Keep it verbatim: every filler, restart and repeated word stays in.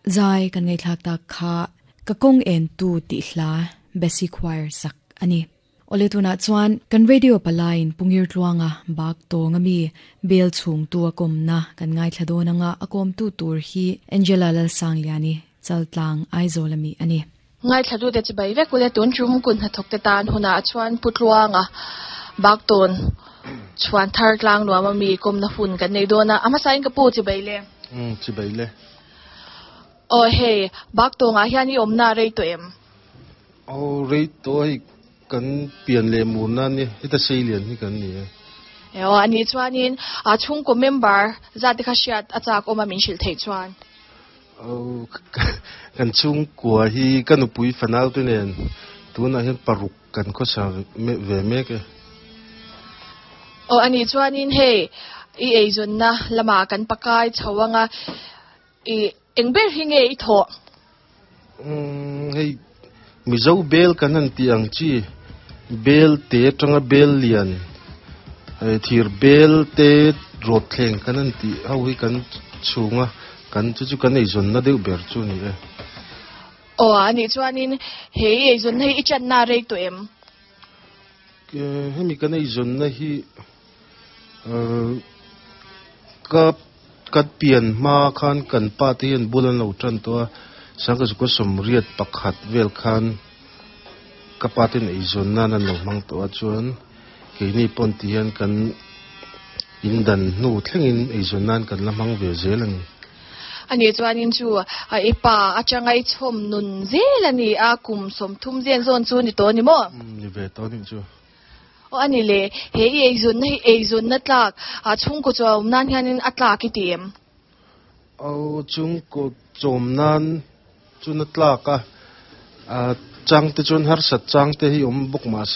Zai kan ngai thlak tak kha ka kong en tu ti hla Bessie Choir sak ani. Ole tuna chuan kan radio palain pungir tluanga bak tonga mi bel chung tu akom na kan ngai thladon anga akom tu tur hi Angela Lal Sangliani chaltlang Aizolami ani. Ngai thladu te chibai vek ule tun chum kun ha thok te tan huna chuan putluanga bak ton chuan thar tlang nuam ami kom na hun kan nei dona ama sain ka pu chibai le. Um chibai le. O hei bak tonga hian i omna rei to em? O rei to hei kan pian le mur na ni hita sei lian hi kan ni e. O ani chuanin a chung ko member za te kha shiat achak oma min shil thei chuan. O kan chung kwa hi kanupui fanal tu nen tuna hian paruk kan kho sa me ve me ke. O ani chuanin hei i ei zon na lama kan pakai chawanga i engber hi nge i tho? Um hei mizo bel kan an ti ang chi bel te tanga bel lian thir bel te rot thleng kan an ti ho hi kan chunga kan chu chu kan ei zon na deuh ber chu ni e. O ani chuanin hei ei zon hei i chan na rei to em? Hemi kan ei zon na hi ka kat pian ma khan kan pa te hian bulan lo tan to sang ka ko som riat pakhat vel khan ka pa ten ei zon na nan lo mang to a chuan ke ni pon ti hian kan indan nu thlengin ei zon nan kan la mang ve zel ani. Ani chuanin chu a ipa atanga i chhom nun zel ani a kum som thum zen zon chu ni to ni mo? Ni ve to ni chu. O ani le he i ei zon na hi ei zon na tlak a chung ko chom nan hianin a tlak i ti em? O chung ko chom nan chu na tlak a a chang te chun har sat chang te hi om bok ma se